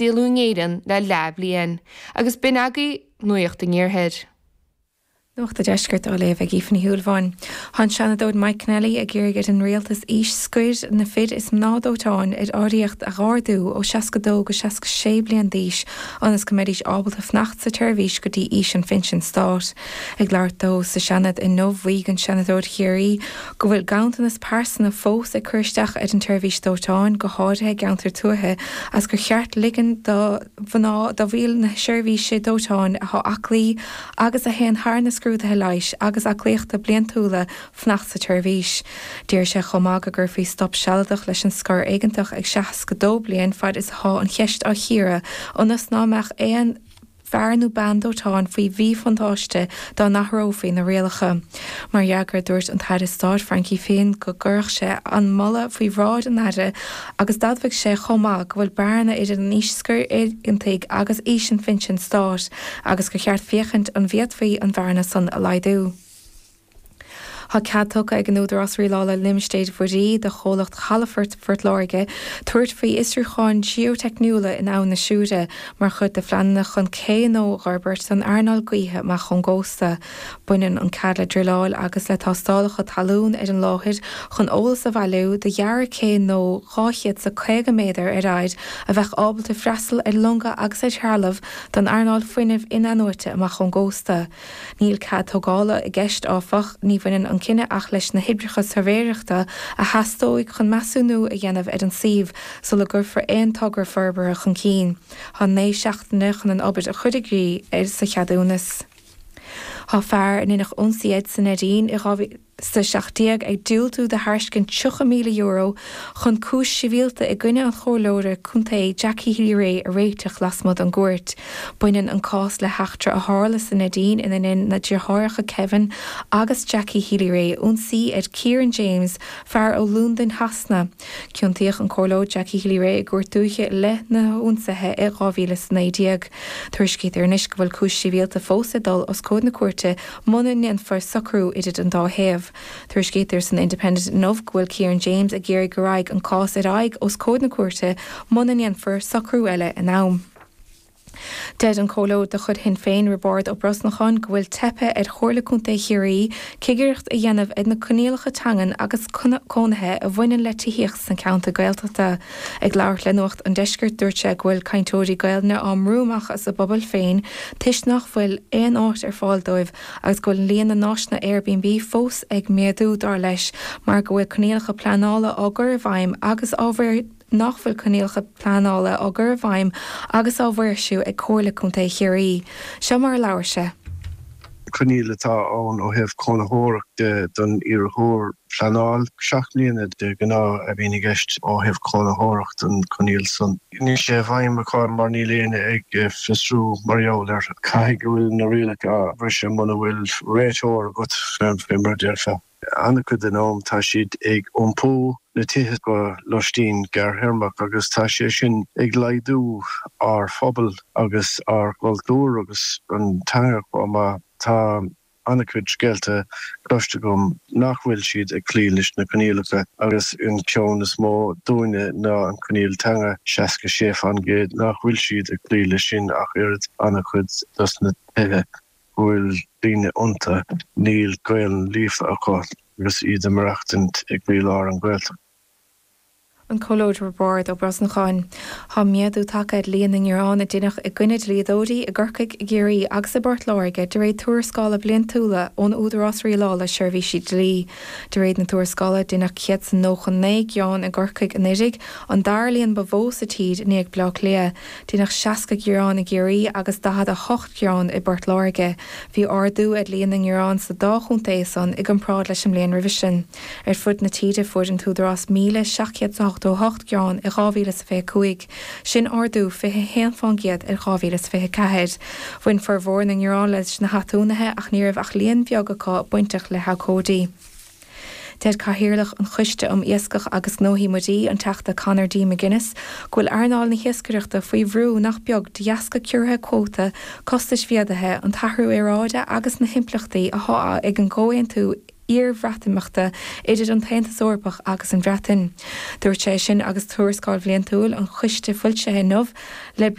Saolú in Éirinn le leathbhliain, agus b'in agaibh Nuacht an Iarthair. Nuacht an Deiscirt á léamh ag Aoife Ní Shúilleabháin. Tá an Seanadóir Mike Kennelly ag iarraidh ar an Rialtas aois scoir na fir is mná dóiteáin ar árthaíocht a dh'ardú ó 62 go 66 bliain d'aois ionas go mbeidís ábalta fanacht sa tseirbhís go dtí aois an phinsin stáit. Ag labhairt dó sa Seanad inniu mhaígh an Seanadóir Chiarraí go bhfuil ganntanas pearsana fós ag cur isteach ar an tseirbhís dóiteáin, go háirithe i gceantair tuaithe, agus gur cheart ligean do mhná do bhaill na seirbhíse dóiteáin atá aclaí agus a théann thar na scrúduithe leighis agus aclaíochta bliantúla fanacht sa tseirbhís. D'iarr sé chomh maith go gcuirfí stop sealadach leis an scor éigeantach ag 62 bliain fad is atá an cheist á chíoradh ionas ná mbeadh aon fear nó bean dóiteáin faoi mhíbhuntáiste dá n-athrófaí na rialacha. Mar fhreagra, dúirt an tAire Stáit Frankie Fihn go gcuirfeadh sé an moladh faoi bhráid an Aire agus d'admhaigh sé chomh maith go bhfuil bearna idir an aois scoir éigeantaigh agus aois an phinsin stáit agus gur cheart féachaint an bhféadfaí an bhearna san a laghdú. Tá cead tugtha ag an Údarás Rialála Limistéir Mhuirí do chomhlacht Chalafort Phort Láirge tabhairt faoi fhiosrúcháin geoiteicniúla in Abhainn na Siúire mar chuid de phleananna chun cé nua a fhorbairt don earnáil gaoithe amach ón gcósta. Baineann an cead le druileáil agus le tástálacha talún ar an láthair chun eolas a bhailiú do dhearadh cé nua 250 méadar ar fhaid a bheadh ábalta freastal ar longa agus ar threalamh don earnáil fuinnimh in-athnuaite amach ón gcósta. Níl cead tógála i gceist, áfach. Ní bhaineann an cinneadh ach leis na hoibreacha suirbhéireachta a theastóidh chun measúnú a dhéanamh ar an suíomh sula gcuirfear aon togra forbartha chun cinn. Tá 9 seachtaine chun an obair a chur i gcrích sa cheadúnas. Tá fear a ndeineadh ionsaí air sa Neidín i 2017 ag diúltú do thairscint €30,000 chun cúis shibhialta i gcoinne an chomhairleora contae Jackie Healy-Rae a réiteach lasmuigh den gcúirt. Baineann an cás le heachtra a tharla sa Neidín ina ndein na deartháireacha Kevin agus Jackie Healy-Rae ionsaí ar Kieran James, fear ó Londain Shasana. Ciontaíodh an Comhairleoir Jackie Healy-Rae i gCúirt Dúiche i leith na hionsaithe i 2019. Tuairiscítear anois go bhfuil cúis shibhialta fós ag dul os comhair na cúirte muna ndéanfar socrú idir an dá thaobh. Tuairiscítear san Independent inniu go bhfuil Kieran James ag iarraidh go raghaidh an cás ar aghaidh os comhair na cúirte muna ndéanfar socrú eile in am. Deir an Comhairleoir de chuid Shinn Féin, Roibeárd Ó Brosnacháin, go bhfuil teipthe ar Chomhairle Contae Chiarraí cigireacht a dhéanamh ar na coinníollacha teangan agus cónaithe a bhaineann le tithíocht sna ceantair Gaeltachta. Ag labhairt le Nuacht an Deiscirt, dúirt sé go bhfuil cainteoirí Gaelainne á mbrú amach as a bpobail féin toisc nach bhfuil aon áit ar fáil dóibh agus go bhfuil líon na n-áiseanna Airbnb fós ag méadú, dar leis, mar go bhfuil coinníollacha pleanála á gcur i bhfeidhm agus á nach bhfuil coinníollacha pleanála á gcur i bhfeidhm agus á maoirsiú ag Comhairle Contae Chiarraí. Seo mar a labhair sé. Coinníoll atá ann ó thaobh cónaitheoireacht de don iarrthóir. Pleanáil 7 mbliana de ghnáth a bhíonn i gceist ó thaobh cónaitheoireacht an coinníoll san. Níl sé i bhfeidhm acu mar níl éinne ag fiosrú mar gheall air. Caithfidh go bhfuil na rialacha á bhriseadh muna bhfuil réiteoir agat, fé mar a déarfá. An-chuid den am tá siad ag iompú na tithe go loistín gearrthéarmach agus tá sé sin ag laghdú ár phobal agus ár gcultúr agus an teanga chomh maith. Tá an-chuid scéalta cloiste agam nach bhfuil siad ag cloí leis na coinníollacha agus an ceann is mó dúinne ná an coinníoll teanga, 66% nach bhfuil siad ag cloí leis sin ach oiread an-chuid dos na tithe. go bhfuil daoine iontu, níl Gaelainn líofa acu agus iad ag maireachtaint i gcroílár an Ghaeltacht. An Comhairleoir Roibeárd Ó Brosnacháin. Tá méadú tagtha ar líon na ngearán a deineadh i gcoinne dlíodóirí i gCorcaigh, i gCiarraí agus i bPort Láirge de réir tuarascála bliantúla ón Údarás Rialála Seirbhísí Dlí. De réir na tuarascála, deineadh 199 gearán i gCorcaigh anuraidh, an dara líon ba mhó sa tír i ndiaidh Bleá Cliath. Deineadh 60 gearán i gCiarraí agus 48 gearán i bPort Láirge. Bhí ardú ar líon na ngearán sa dá chontae san i gcomparáid leis an mbliain roimhe sin. Ar fud na tíre fuair an tÚdarás 1,788 gearán i 2025, sin ardú 21% ar 2024. Bhain formhór na ngearán leis na haturnaetha ach ní raibh ach líon beag acu bainteach le habhcóidí. Deir Cathaoirleach an Choiste um Iascach agus Gnóthaí Muirí, an Teachta Conor D. McGuinness, go bhfuil earnáil na hiascaireachta faoi bhrú nach beag de dheasca ciorruithe cuóta, costais mhéadaithe, an t-athrú aeráide agus na himpleachtaí atá ag an gComhaontú. iarBhreatimeachta idir an tAontas Eorpach agus an Bhreatain. Dúirt sé sin agus tuarascáil bhliantúil an choiste foilsithe inniu le.